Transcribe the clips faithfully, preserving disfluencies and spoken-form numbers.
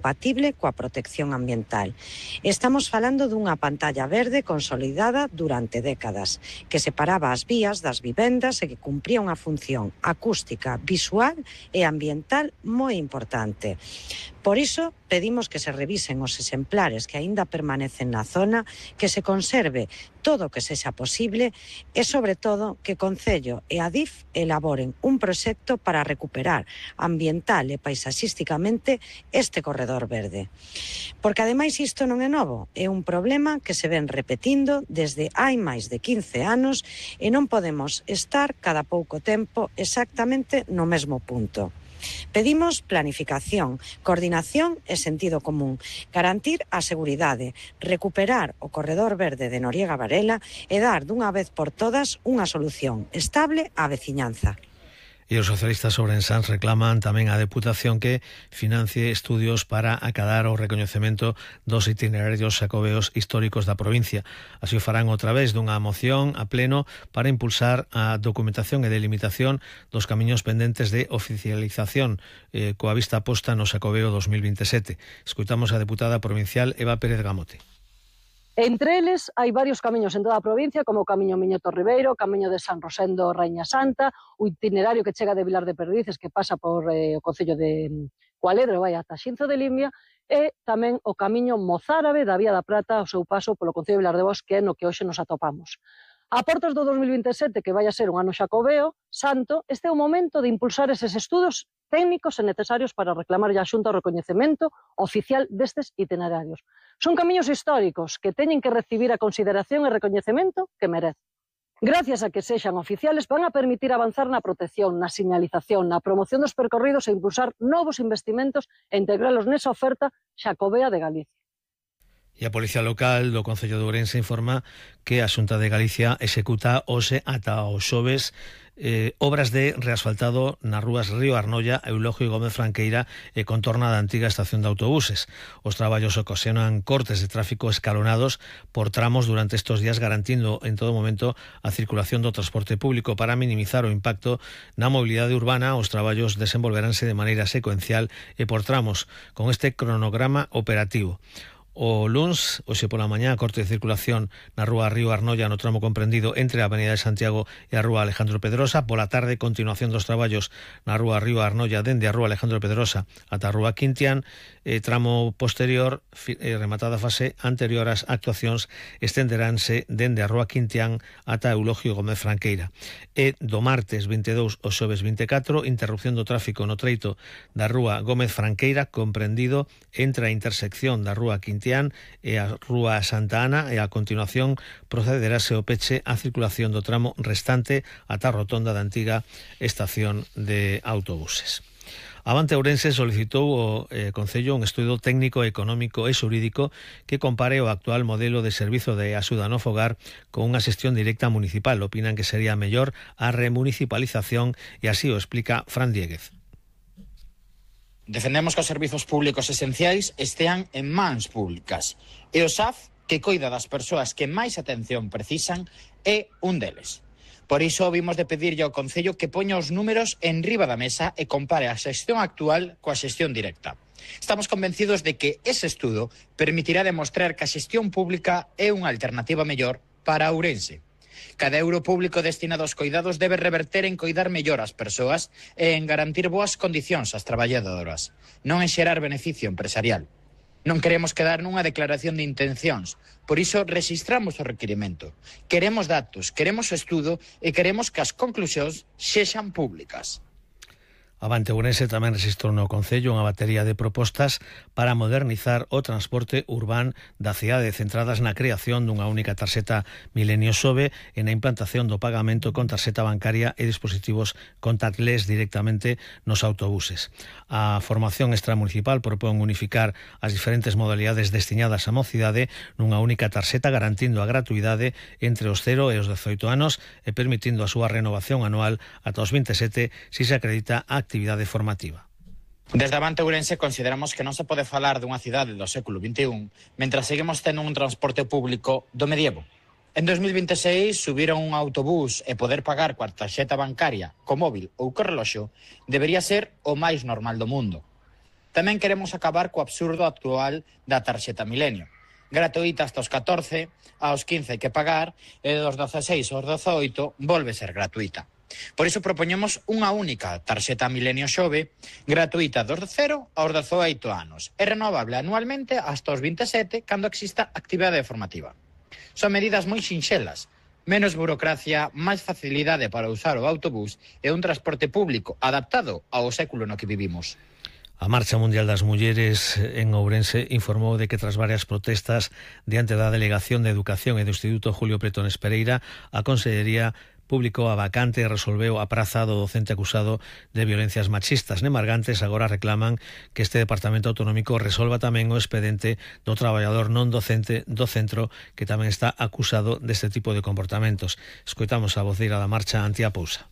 compatible coa protección ambiental. Estamos falando dunha pantalla verde consolidada durante décadas, que separaba as vías das vivendas e que cumpría unha función acústica, visual e ambiental moi importante. Por iso, pedimos que se revisen os exemplares que aínda permanecen na zona, que se conserve todo o que sexa posible e, sobre todo, que Concello e a D I F elaboren un proxecto para recuperar ambiental e paisaxísticamente este corredor verde. Porque, ademais, isto non é novo, é un problema que se ven repetindo desde hai máis de quince anos e non podemos estar cada pouco tempo exactamente no mesmo punto. Pedimos planificación, coordinación e sentido común, garantir a seguridade, recuperar o corredor verde de Noriega Varela e dar dunha vez por todas unha solución estable á veciñanza. E os socialistas ourensáns reclaman tamén á Deputación que financie estudios para acadar o recoñecemento dos itinerarios xacobeos históricos da provincia. Así o farán outra vez dunha moción a pleno para impulsar a documentación e delimitación dos camiños pendentes de oficialización eh, coa vista posta no Xacobeo dos mil veintesete. Escoitamos a deputada provincial Eva Pérez Gamote. Entre eles hai varios camiños en toda a provincia, como o camiño Miñoto Ribeiro, o camiño de San Rosendo Raíña Santa, o itinerario que chega de Vilar de Perdices, que pasa por eh, o concello de Cualedro e vai ata Xinzo de Limia, e tamén o camiño mozárabe da Vía da Prata, o seu paso polo concello de Vilar de Bos, que é no que hoxe nos atopamos. A portas do dos mil veintesete, que vai a ser un ano xacobeo santo, este é o momento de impulsar eses estudos técnicos e necesarios para reclamar a Xunta o recoñecemento oficial destes itinerarios. Son camiños históricos que teñen que recibir a consideración e recoñecemento que merecen. Gracias a que sexan oficiales, van a permitir avanzar na protección, na señalización, na promoción dos percorridos e impulsar novos investimentos e integralos nesa oferta xacobea de Galicia. E a Policía Local do Concello de Ourense informa que a Xunta de Galicia executa hoxe ata o xoves eh, obras de reasfaltado nas rúas Río Arnolla, Eulogio e Gómez Franqueira e contorna da antiga estación de autobuses. Os traballos ocasionan cortes de tráfico escalonados por tramos durante estes días, garantindo en todo momento a circulación do transporte público. Para minimizar o impacto na mobilidade urbana, os traballos desenvolveránse de maneira secuencial e por tramos, con este cronograma operativo. O luns, hoxe pola mañá, corte de circulación na rúa Río Arnolla no tramo comprendido entre a Avenida de Santiago e a rúa Alejandro Pedrosa. Pola tarde, continuación dos traballos na rúa Río Arnolla dende a rúa Alejandro Pedrosa ata a rúa Quintián. E tramo posterior, eh, rematada a fase anterior ás actuacións, estenderánse dende a rúa Quintián ata Eulogio Gómez Franqueira. E do martes vinte e dous ao xoves vinte e catro, interrupción do tráfico no treito da rúa Gómez Franqueira, comprendido entre a intersección da rúa Quintián e a rúa Santa Ana, e a continuación procederase o peche á circulación do tramo restante ata a rotonda da antiga estación de autobuses. Avante Ourense solicitou o eh, Concello un estudo técnico, económico e xurídico que compare o actual modelo de servizo de axuda no fogar con unha xestión directa municipal. Opinan que sería mellor a remunicipalización e así o explica Fran Dieguez. Defendemos que os servizos públicos esenciais estean en mans públicas e o S A F, que coida das persoas que máis atención precisan, é un deles. Por iso vimos de pedirlle ao Concello que poña os números en riba da mesa e compare a xestión actual coa xestión directa. Estamos convencidos de que ese estudo permitirá demostrar que a xestión pública é unha alternativa mellor para Ourense. Cada euro público destinado aos coidados debe reverter en coidar mellor as persoas e en garantir boas condicións ás traballadoras, non en xerar beneficio empresarial. Non queremos quedar nunha declaración de intencións, por iso rexistramos o requirimento. Queremos datos, queremos o estudo e queremos que as conclusións sexan públicas. Avante Ourense tamén rexistrou no Concello unha batería de propostas para modernizar o transporte urbán da cidade, centradas na creación dunha única tarxeta Milenio Xove e na implantación do pagamento con tarxeta bancaria e dispositivos contactless directamente nos autobuses. A formación extramunicipal propón unificar as diferentes modalidades destinadas á mocidade nunha única tarxeta, garantindo a gratuidade entre os cero e os dezoito anos e permitindo a súa renovación anual ata os vinte e sete se se acredita a actividade formativa. Desde Avante Ourense consideramos que non se pode falar dunha cidade do século vinte e un mentras seguimos tendo un transporte público do medievo. En dos mil vinte e seis, subir a un autobús e poder pagar coa tarxeta bancaria, co móvil ou co reloxo debería ser o máis normal do mundo. Tamén queremos acabar co absurdo actual da tarxeta Milenio. Gratuita hasta os catorce, aos quince hai que pagar, e dos dezaseis aos dezaoito volve ser gratuita. Por iso propoñemos unha única tarxeta Milenio Xove, gratuita dos cero aos dezaoito anos, e renovable anualmente hasta os vinte e sete cando exista actividade formativa. Son medidas moi sinxelas, menos burocracia, máis facilidade para usar o autobús e un transporte público adaptado ao século no que vivimos. A Marcha Mundial das Mulleres en Ourense informou de que tras varias protestas diante da Delegación de Educación e do Instituto Julio Pretones Pereira, a Consellería publicou a vacante e resolveu a praza do docente acusado de violencias machistas. Nemargantes agora reclaman que este Departamento Autonómico resolva tamén o expedente do traballador non docente do centro que tamén está acusado deste tipo de comportamentos. Escoitamos a voceira da Marcha, Antía Pousa.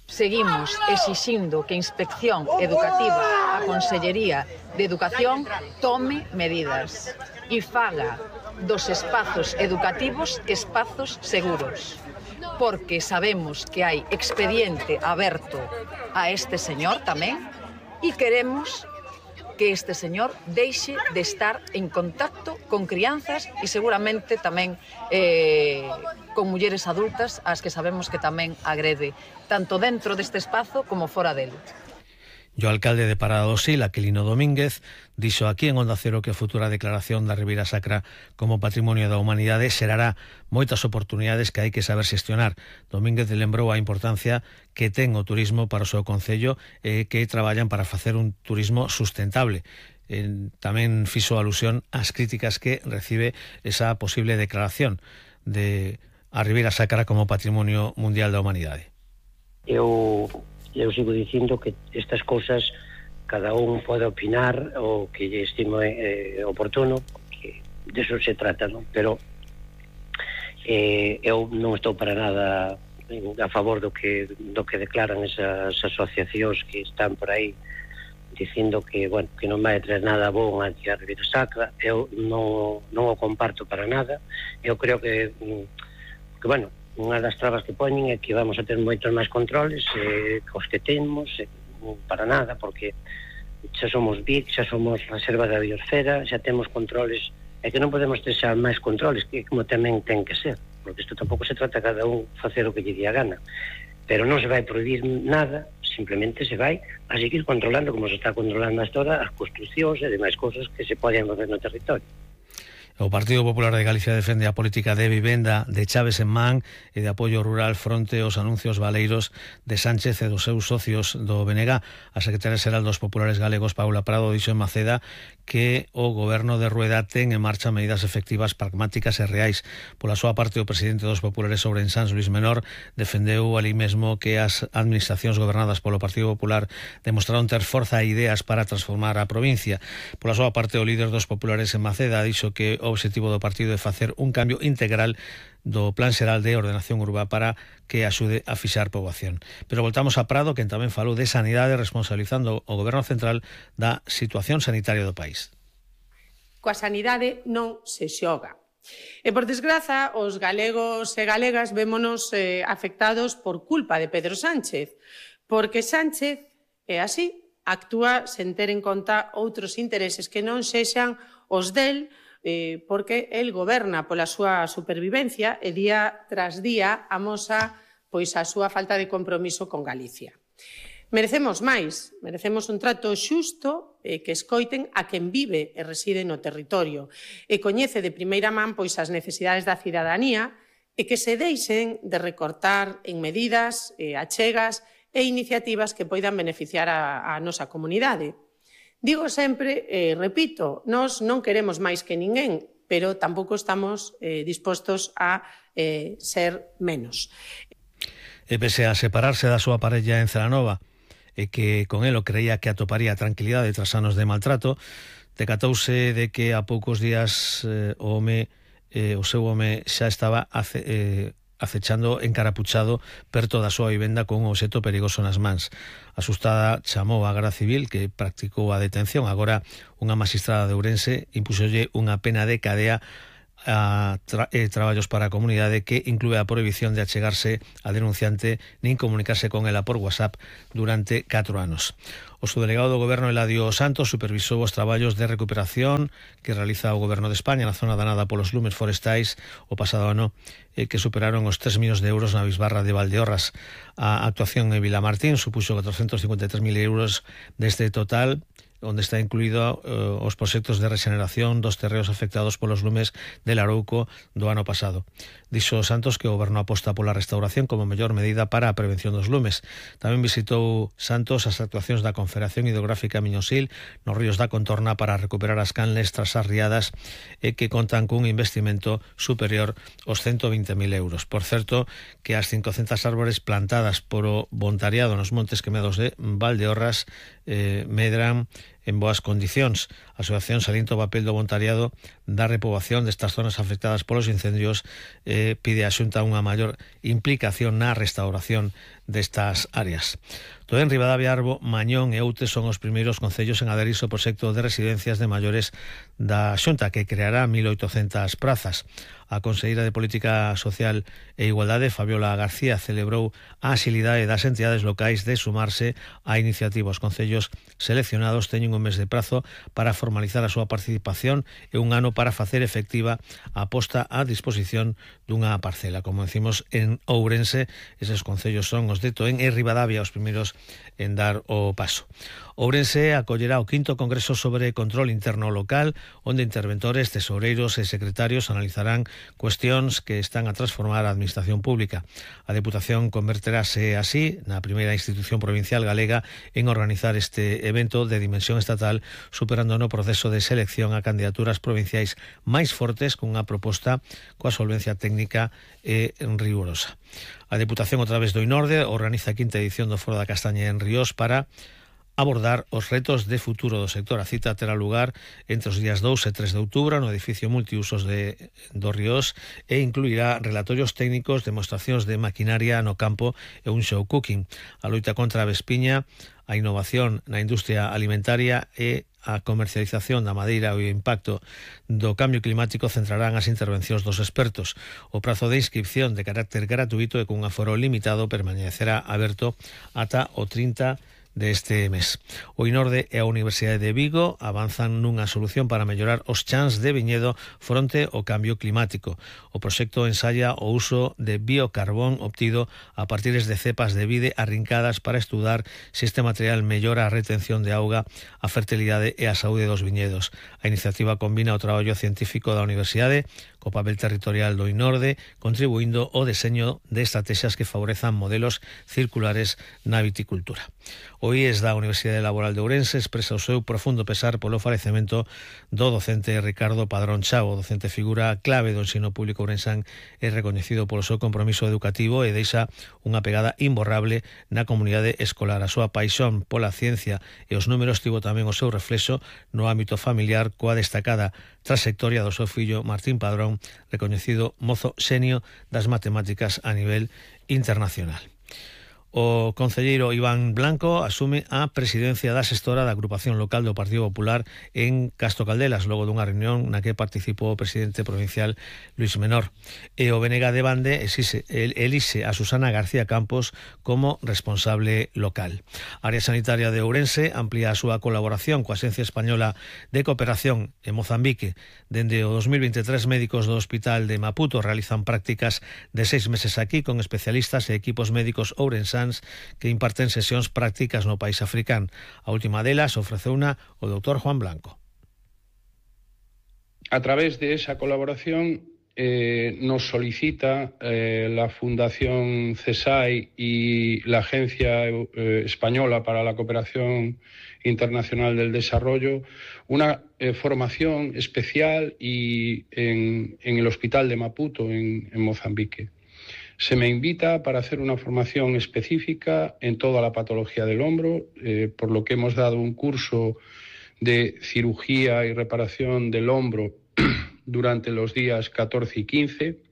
Seguimos exixindo que a Inspección Educativa, a Consellería de Educación, tome medidas e faga dos espazos educativos espazos seguros, porque sabemos que hai expediente aberto a este señor tamén e queremos que este señor deixe de estar en contacto con crianzas e seguramente tamén eh, con mulleres adultas as que sabemos que tamén agrede, tanto dentro deste espazo como fora dele. E o alcalde de Parada do Sil, Aquilino Domínguez, dixo aquí en Onda Cero que a futura declaración da Ribeira Sacra como Patrimonio da Humanidade xerará moitas oportunidades que hai que saber xestionar. Domínguez lembrou a importancia que ten o turismo para o seu concello e que traballan para facer un turismo sustentable. Eh, tamén fixo alusión ás críticas que recibe esa posible declaración de a Ribeira Sacra como Patrimonio Mundial da Humanidade. Eu Eu sigo dicindo que estas cousas cada un pode opinar o que lle estime eh, oportuno, que de eso se trata, non? Pero eh, eu non estou para nada a favor do que do que declaran esas asociacións que están por aí dicindo que, bueno, que non vai traer nada bon a Ribeira Sacra. Eu non, non o comparto para nada. Eu creo que, que bueno, unha das trabas que poñen é que vamos a ter moitos máis controles eh, os que temos, eh, para nada, porque xa somos B I C, xa somos reserva da biosfera, xa temos controles, e que non podemos ter xa máis controles, que como tamén ten que ser, porque isto tampouco se trata cada un facer o que lle día gana, pero non se vai prohibir nada, simplemente se vai a seguir controlando, como se está controlando hasta ahora, as construcións e demais cousas que se poden facer no territorio. O Partido Popular de Galicia defende a política de vivenda de Chaves en Man e de apoio rural fronte aos anuncios baleiros de Sánchez e dos seus socios do B N G. A secretaria xeral dos Populares Galegos, Paula Prado, dixo en Maceda que o goberno de Rueda ten en marcha medidas efectivas, pragmáticas e reais. Pola súa parte, o presidente dos Populares Ourensans, Luís Menor, defendeu ali mesmo que as administracións gobernadas polo Partido Popular demostraron ter forza e ideas para transformar a provincia. Pola súa parte, o líder dos Populares en Maceda dixo que o obxectivo do partido é facer un cambio integral do Plan Xeral de Ordenación Urbá para que axude a fixar poboación. Pero voltamos a Prado, quen tamén falou de sanidade, responsabilizando o Goberno Central da situación sanitaria do país. Coa sanidade non se xoga. E, por desgraza, os galegos e galegas vémonos eh, afectados por culpa de Pedro Sánchez, porque Sánchez é así, actúa sen ter en conta outros intereses que non sexan os del, eh, porque el goberna pola súa supervivencia e día tras día amosa pois a súa falta de compromiso con Galicia. Merecemos máis, merecemos un trato xusto eh, que escoiten a quen vive e reside no territorio e coñece de primeira man pois as necesidades da cidadanía e que se deixen de recortar en medidas, eh, achegas e iniciativas que poidan beneficiar a, a nosa comunidade. Digo sempre, eh, repito, nós non queremos máis que ninguén, pero tampouco estamos eh, dispostos a eh, ser menos. E pese a separarse da súa parella en Celanova, e que con elo creía que atoparía tranquilidade tras anos de maltrato, decatouse de que a poucos días eh, o home, eh, o seu home xa estaba ace, eh, acechando encarapuchado perto da súa vivenda con un obxecto perigoso nas mans. Asustada, chamou a Garda Civil, que practicou a detención. Agora, unha magistrada de Ourense impúxolle unha pena de cadea a tra eh, traballos para a comunidade, que inclúe a prohibición de achegarse a denunciante nin comunicarse con ela por WhatsApp durante catro anos. O subdelegado do Goberno, Eladio Santos, supervisou os traballos de recuperación que realiza o Goberno de España na zona danada polos lumes forestais o pasado ano, eh, que superaron os tres millóns de euros na bisbarra de Valdeorras. A actuación en Vilamartín supuxo catrocentos cincuenta e tres mil euros deste total, onde está incluído uh, os proxectos de regeneración dos terreos afectados polos lumes de Larouco do ano pasado. Dixo Santos que o Goberno aposta pola restauración como mellor medida para a prevención dos lumes. Tamén visitou Santos as actuacións da Confederación Hidrográfica Miñosil nos ríos da contorna para recuperar as canles tras as riadas, e que contan cun investimento superior aos ciento vinte mil euros. Por certo, que as cincocentas árbores plantadas por o voluntariado nos montes quemados de Valdeorras eh, medran en boas condicións. A asociación salienta o papel do voluntariado da repoboación destas zonas afectadas polos incendios, eh, pide a Xunta unha maior implicación na restauración destas áreas. Toén, Ribadavia, Arbo, Mañón e Outes son os primeiros concellos en aderirse ao proxecto de residencias de maiores da Xunta, que creará mil oitocentas prazas. A conselleira de Política Social e Igualdade, Fabiola García, celebrou a axilidade das entidades locais de sumarse á iniciativa. Os concellos seleccionados teñen un mes de prazo para formalizar a súa participación e un ano para facer efectiva a posta á disposición dunha parcela. Como decimos, en Ourense, eses concellos son os de Toén e Ribadavia os primeiros en dar o paso. Ourense acollerá o quinto Congreso sobre Control Interno Local, onde interventores, tesoureiros e secretarios analizarán cuestións que están a transformar a administración pública. A Deputación converterase así na primeira institución provincial galega en organizar este evento de dimensión estatal, superando no proceso de selección a candidaturas provinciais máis fortes cunha proposta coa solvencia técnica e rigurosa. A Deputación, a través do INORDE, organiza a quinta edición do Foro da Castaña en Ríos para abordar os retos de futuro do sector. A cita terá lugar entre os días dous e tres de outubro no edificio multiusos de do Ríos e incluirá relatorios técnicos, demostracións de maquinaria no campo e un show cooking. A loita contra a vespiña, a innovación na industria alimentaria e a comercialización da madeira e o impacto do cambio climático centrarán as intervencións dos expertos. O prazo de inscripción de carácter gratuito e cun aforo limitado permanecerá aberto ata o trinta deste mes. O INORDE e a Universidade de Vigo avanzan nunha solución para mellorar os chans de viñedo fronte ao cambio climático. O proxecto ensaya o uso de biocarbón obtido a partir de cepas de vide arrincadas para estudar se este material mellora a retención de auga, a fertilidade e a saúde dos viñedos. A iniciativa combina o traballo científico da Universidade co papel territorial do INORDE, contribuindo ao deseño de estrategias que favorezan modelos circulares na viticultura. O I E S da Universidade Laboral de Ourense expresa o seu profundo pesar polo falecemento do docente Ricardo Padrón Chao. O docente figura clave do ensino público ourensán e recoñecido polo seu compromiso educativo e deixa unha pegada imborrable na comunidade escolar. A súa paixón pola ciencia e os números tivo tamén o seu reflexo no ámbito familiar, coa destacada trayectoria do seu fillo Martín Padrón, recoñecido mozo xenio das matemáticas a nivel internacional. O concelleiro Iván Blanco asume a presidencia da xestora da agrupación local do Partido Popular en Castro Caldelas, logo dunha reunión na que participou o presidente provincial Luis Menor. E o B N G de Bande exixe, elixe a Susana García Campos como responsable local. A área sanitaria de Ourense amplía a súa colaboración coa Axencia Española de Cooperación en Mozambique. Dende o dos mil veintitrés, médicos do Hospital de Maputo realizan prácticas de seis meses aquí con especialistas e equipos médicos ourensáns que imparten sesións prácticas no país africano. A última delas ofreceuna o doutor Juan Blanco. A través de esa colaboración eh, nos solicita eh, la Fundación CESAI y la Agencia eh, Española para la Cooperación Internacional del Desarrollo una eh, formación especial y en, en el Hospital de Maputo, en, en Mozambique. Se me invita para hacer una formación específica en toda la patología del hombro, eh, por lo que hemos dado un curso de cirugía y reparación del hombro durante los días catorce y quince,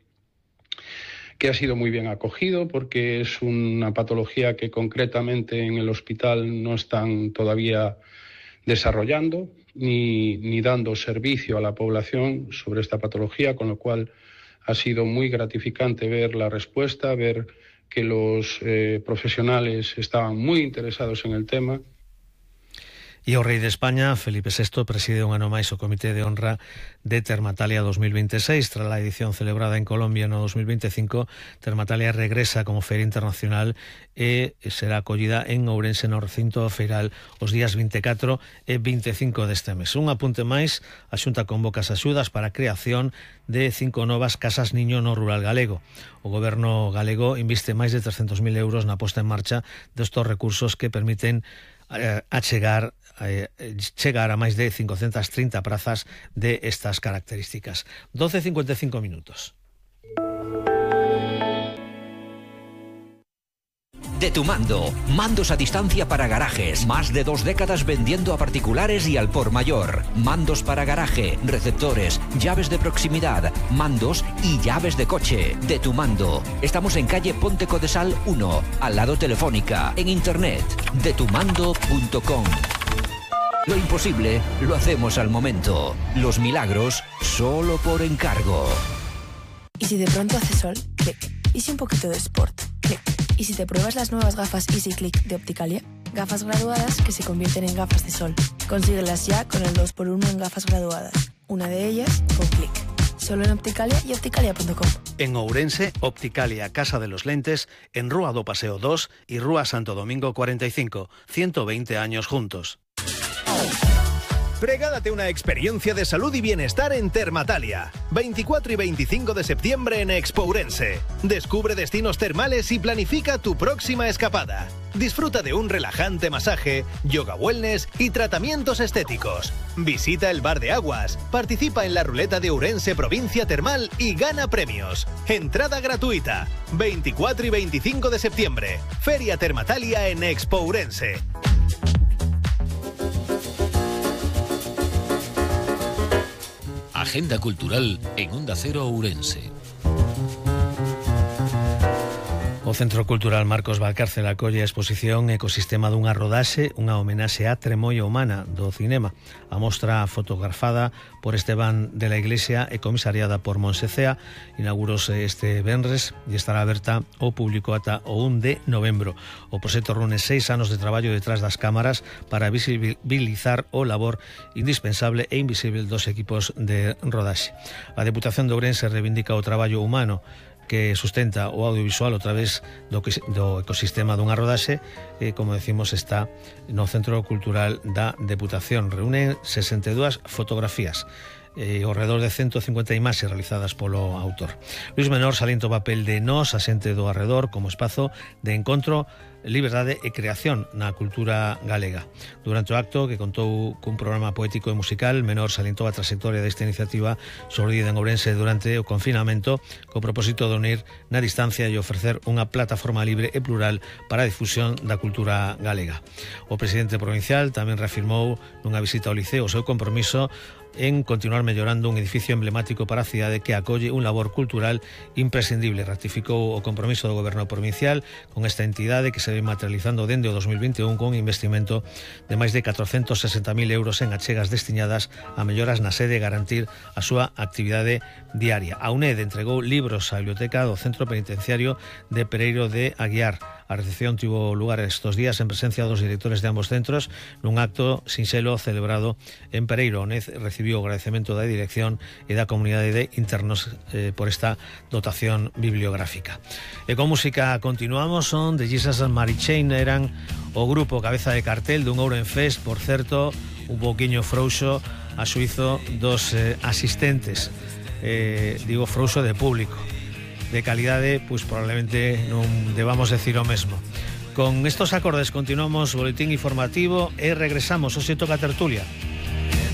que ha sido muy bien acogido porque es una patología que concretamente en el hospital no están todavía desarrollando. ni, ni dando servicio a la población sobre esta patología, con lo cual ha sido muy gratificante ver la respuesta, ver que los eh, profesionales estaban muy interesados en el tema. E o rei de España, Felipe sexto, preside un ano máis o Comité de Honra de Termatalia dos mil veintiséis. Tras a edición celebrada en Colombia no dos mil veinticinco, Termatalia regresa como feira internacional e será acollida en Ourense no recinto feiral os días vinte e catro e vinte e cinco deste mes. Un apunte máis, a Xunta convoca as axudas para a creación de cinco novas casas niño no rural galego. O goberno galego inviste máis de trescentos mil euros na posta en marcha destos recursos que permiten a chegar a chegar a máis de cincocentas trinta prazas de estas características. doce e cincuenta e cinco minutos. De Tu Mando, mandos a distancia para garajes, más de dos décadas vendiendo a particulares y al por mayor. Mandos para garaje, receptores, llaves de proximidad, mandos y llaves de coche. De Tu Mando. Estamos en calle Ponte Codesal uno, al lado Telefónica, en internet, de tu mando punto com. Lo imposible lo hacemos al momento. Los milagros solo por encargo. ¿Y si de pronto hace sol? Clic. ¿Y si un poquito de sport? Clic. ¿Y si te pruebas las nuevas gafas Easy Click de Opticalia? Gafas graduadas que se convierten en gafas de sol. Consíguelas ya con el dos por uno en gafas graduadas. Una de ellas con Clic. Solo en Opticalia y opticalia punto com. En Ourense, Opticalia Casa de los Lentes, en Rúa do Paseo dos y Rúa Santo Domingo cuarenta y cinco. ciento veinte años juntos. Regálate una experiencia de salud y bienestar en Termatalia. veinticuatro y veinticinco de septiembre en Expo Ourense. Descubre destinos termales y planifica tu próxima escapada. Disfruta de un relajante masaje, yoga wellness y tratamientos estéticos. Visita el Bar de Aguas, participa en la ruleta de Ourense Provincia Termal y gana premios. Entrada gratuita. veinticuatro y veinticinco de septiembre. Feria Termatalia en Expo Ourense. Agenda cultural en Onda Cero Ourense. O Centro Cultural Marcos Valcárcel acolle a exposición Ecosistema dunha rodaxe, unha homenaxe á tremolla humana do cinema. A mostra fotografada por Esteban de la Iglesia e comisariada por Monse Cea inaugurouse este venres e estará aberta ao público ata o un de novembro. O proxecto reúne seis anos de traballo detrás das cámaras para visibilizar o labor indispensable e invisible dos equipos de rodaxe. A Deputación de Ourense reivindica o traballo humano que sustenta o audiovisual a través do, do ecosistema dunha rodaxe e, como decimos, está no Centro Cultural da Deputación. Reúne sesenta e dúas fotografías e ao redor de ciento cincuenta imaxes realizadas polo autor. Luis Menor salienta o papel de Nós, a xente do arredor, como espazo de encontro, liberdade e creación na cultura galega. Durante o acto, que contou cun programa poético e musical, Menor salientou a trayectoria desta iniciativa xordida en Ourense durante o confinamento, co propósito de unir na distancia e ofrecer unha plataforma libre e plural para a difusión da cultura galega. O presidente provincial tamén reafirmou nunha visita ao Liceo o seu compromiso en continuar mellorando un edificio emblemático para a cidade que acolle un labor cultural imprescindible. Ratificou o compromiso do goberno provincial con esta entidade que se ve materializando dende o dos mil vinte e un con investimento de máis de catrocentos sesenta mil euros en achegas destinadas a melloras na sede e garantir a súa actividade diaria. A UNED entregou libros á biblioteca do Centro Penitenciario de Pereiro de Aguiar. A recepción tivo lugar estos días en presencia dos directores de ambos centros nun acto sinxelo celebrado en Pereiro. A UNED recibiu o agradecemento da dirección e da comunidade de internos eh, por esta dotación bibliográfica. E con música continuamos. Son de Jesus and Mary Chain, eran o grupo cabeza de cartel dun Ourenfest, por certo, un pouquiño frouxo a xuizo dos eh, asistentes, eh, digo frouxo de público. De calidade, pois probablemente non debamos decir o mesmo. Con estos acordes continuamos o boletín informativo e regresamos. Hoxe toca tertulia.